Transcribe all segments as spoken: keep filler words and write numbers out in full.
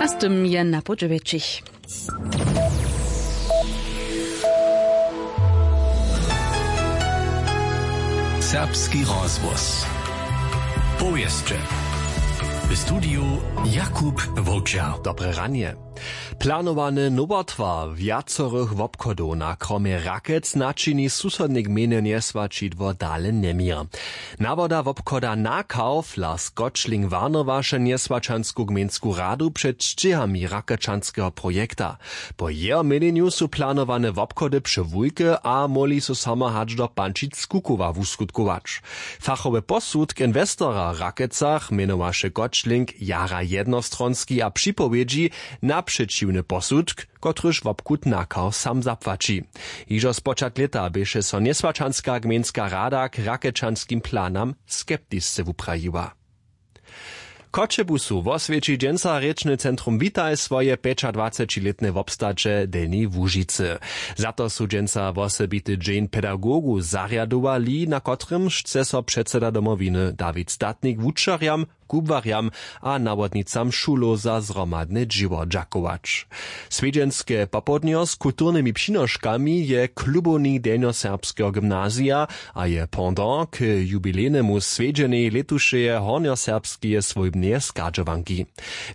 A z tym je na podźewjećich. Serbski rozhłos. Powěsće. W studiju Jakub Wowčer. Dobre ranje. Planowane nowotwar wjacorych wobchodow na kromje Rakec načini susodne gmejne njeswaćidło dale njeměr. Nawoda wobchoda Nakauv Lars Gotschling warnowaše njeswaćansku gmejnsku radu před sćěhami rakečanskeho projekta. Po jeho měnjenju su planowane wobchody přewulke a móhli su samo hač do pančic kukowa wuskutkować. Fachowy posudk inwestora w Rakecach mjenowaše Gotschling jara jednostronski a připowědźi na přećiwny posudk, kotryž wobchud Nakauv sam zapłaći. Hižo spočatk lěta běše so njeswaćanska gmejnska rada k rakečanskim planam skeptisce wuprajiła. Choćebuzu woswjeći dźensa rěčny centrum Witaj swoje pjećadwacećilětne wobstaće w Delnjej Łužicy. Za to su dźensa wosebity dźeń pedagogow zarjadowali, na kotrymž chce so předseda Domowiny Dawid Statnik wučerjam, kubłarjam a nawodnicam šulow za zhromadne dźěło dźakować. Swjedźenske popołdnjo z kulturnymi přinoškami je klubownik delnjoserbskeho gymnazija a je pendant k jubilejnemu swjedźenej lětušeje hornjoserbskeje swójbneje schadźowanki.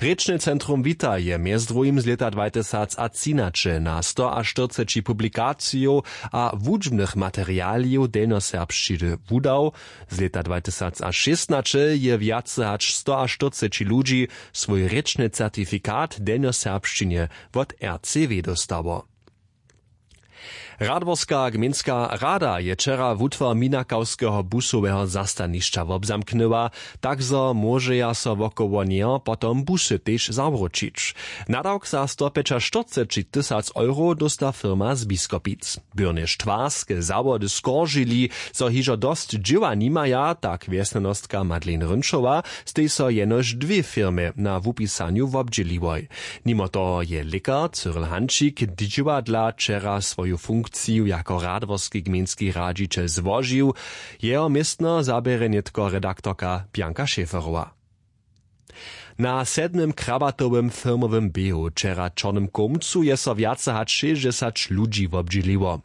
Rěčne centrum Wita je mjez druhim z lěta dwatysacatřinaće na stoaštyrceći publikacijow a wučbnych materialijow delnjoserbšćiny wudał. Z lěta dwatysacšěstnaće je wjace hač stoaštyrceći ludźi swój rěčny certifikat w delnjoserbšćinje wot R C W dóstało. Radworska gmejnska rada je wčera wutwar minakawskeho busoweho zastanišća wobzamknyła, tak zo móžeja so wokoło njeho potom busy tež zawróćić. Nadawk za stopjećaštyrceći tysac euro dósta firma z Biskopic. Byrnje štwarske zawody skoržili, zo hižo dosć dźěła nimaja, tak wjesnjanostka Madeleine Rynčowa stej so jenož dwě firmy na wupisanju wobdźěliłoj. Nimo toho je lěkar Cyril Hančik dźěła dla wčera swoju funkciju jako radworski gmejnski radźićel złožił. Jeho městno zaběrje nětko redaktorka Bianka Schäferowa. Na sedmym krabatowym firmowym běhu wčera w čornym kołmcu je so wjace hač šěsćdźesać ludźi wobdźěliło.